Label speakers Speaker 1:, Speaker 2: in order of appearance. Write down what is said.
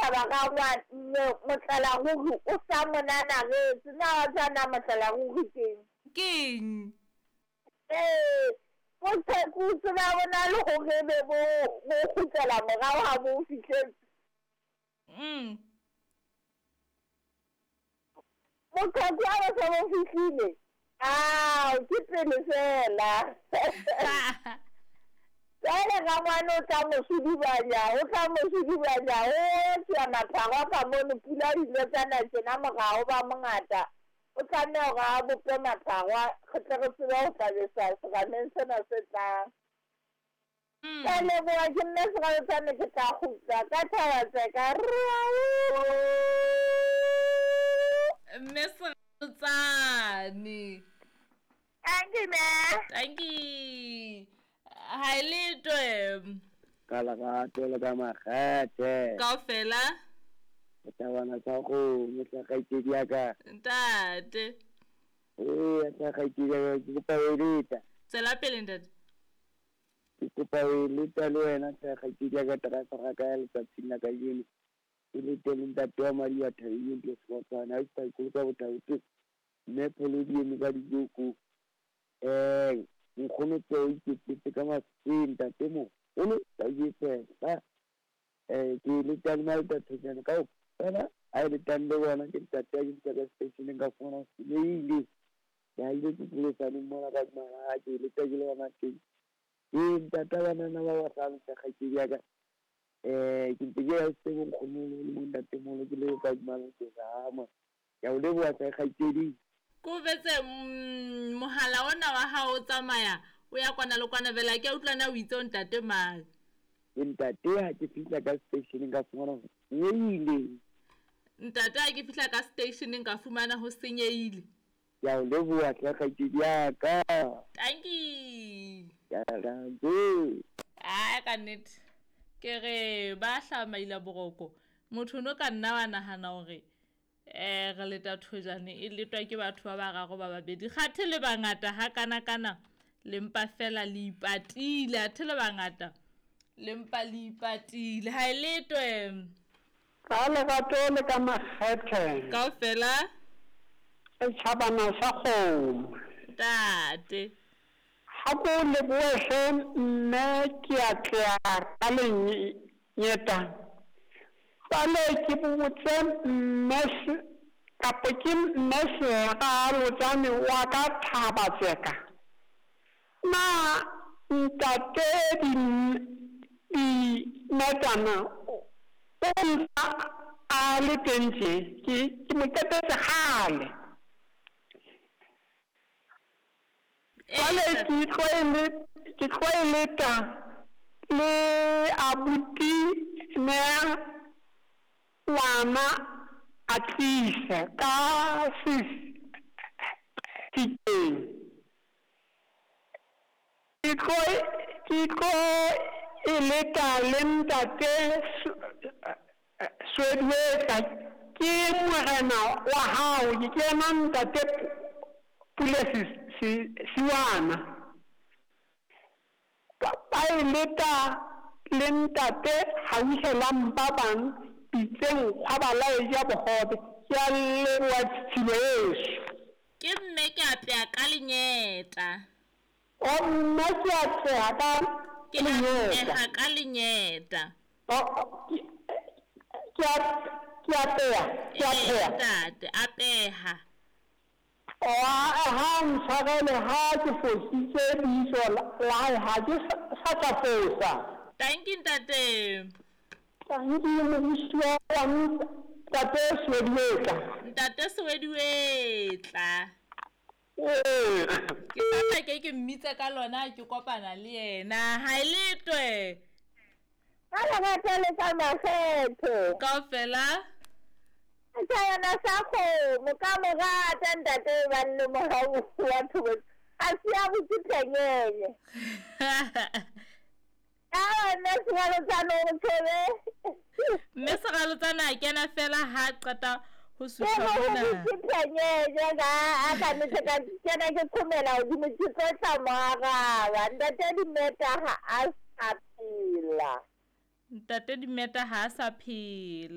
Speaker 1: thaba rangwane motlala ruri o sa mo nanaretse. Na wa tseba na motlala ruri keng?
Speaker 2: Keng?
Speaker 1: Ee, boqheku tseba bo na le hore ebe bo bo kgutlela morao ha bo fihletse. Boqheku ha bo se bo fihlile, ao ke pele feela. Jwale rangwane o tla mo sudubanya, o tla mo sudubanya, o tswa mapharo ka mono, pula di ile tsa na tjena morao ba mongata. O tlameha hore a bope mapharo re tle re tsebe ho tla besa serameng sena se tlang. Ke a leboha ke nna Seraletsane ke tla kgutla ka thaba tseka.
Speaker 2: Mme Seraletsane.
Speaker 1: Thank you, mme.
Speaker 2: Thank you. Ha e letwe.
Speaker 3: Ka lerato le ka makgethe.
Speaker 2: Kaofela.
Speaker 3: Tabana tsa kgomo tla kgaitsedi ya ka.
Speaker 2: Ntate.
Speaker 3: Ee, tla kgaitsedi ya ka, ke kopa ho eleta.
Speaker 2: Tswela pele ntate.
Speaker 3: Ke kopa ho eleta le wena tla kgaitsedi ya ka, driver ka ya letsatsing la kajeno. E lete le ntate wa madi wa thabile ntle Sekotshwane, ha ke sa ikoloka bothaote. Mme pholo di eme ka dijoko. Nkgono tse o iketsetse ka masweng ntate moholo ka jetsela. Ke letang le Malta Thejane kaofela, ha e letang le bona ke ntate a ke fihla ka seteisheneng ka fumana ho senyehile. Ke haile ke polosaneng mona ka mara ke leta ke le hona teng. Ke ntata banana ba bahlano hle kgaitsedi ya ka. Ke ntse ke ya se bonkgono le bontatemoholo ke le ka Malta. Ke a o leboha hle kgaitsedi.
Speaker 2: Ko betse mohala ona wa hao o tsamaya o ya kwana le kwana vela ke a utlwa na o itse o ntate mang.
Speaker 3: Ke ntate ha ke fihla ka seteisheneng ka fumana ho senyehile.
Speaker 2: Ntate ha ke fihla ka seteisheneng ka fumana ho senyehile.
Speaker 3: Ke a o leboha hle kgaitsedi ya ka.
Speaker 2: Thank you.
Speaker 3: Ke a leboha.
Speaker 2: Ai ka nnete. Ke re ba hlamaila boroko. Motho no ka nna wa nahana hore re leta thojane e letwa ke batho ba bararo ba babedi. Kgathe le bangata ha kana kana le mpa fela le ipatile, athe le bangata le mpa le ipatile. Ha e letwe.
Speaker 4: Ka lerato le ka makgethe.
Speaker 2: Kaofela.
Speaker 4: Setjhabana sa kgomo.
Speaker 2: Ntate.
Speaker 4: Ha ko lebohe hle mme ke a tleha ka lenyeta. Jwale ke botse mme kapo ke mme Seralotsane wa ka thaba tseka. Na ntate Dimetana o ntse a le teng tje, ke mo qetetse kgale. Jwale ke tlo e leta le abuti Nea ngwana a tlise ka sefikeng. Ke tlo e leta le ntate Swedwetla, ke morena wa hao, ke yena ntate Pule Siwana. Ba e leta le ntate Hauhelang ba bang pitseng kgwaba la e ja bohobe. Ke a leboha tshilo heso.
Speaker 2: Ke mme ke apeha ka lenyeta.
Speaker 4: O mme ke apeha ka
Speaker 2: Ke apeha ka lenyeta.
Speaker 4: Ke apeha, ke apeha.
Speaker 2: Ntate, apeha.
Speaker 4: O ha ntshwarele ha ke fositse lebitso la hae, ha ke sa tla fosa.
Speaker 2: Thank you ntate.
Speaker 4: Thank you moruti wa ntate Swediwetla.
Speaker 2: Ntate Swediwetla. Ke tla ke mmitse ka lona ke kopana le yena. Ha e letwe.
Speaker 1: Ka lerato le ka makgethe.
Speaker 2: Kaofela.
Speaker 1: Setjhabana sa kgomo ka morata ntate ba le mohau wa thobo. A se a botse phenyenye. Ka nna Seralotsane o tshebe.
Speaker 2: Mme Seralotsane a kena fela ha qeta ho sutlha mona.
Speaker 1: Ke phenyenye ka a ka nnete ka kena ke qhomela hodimo ke tlo tla mo araba. Ntate Dimeta ha a sa phela.
Speaker 2: Ntate Dimeta ha a sa phela.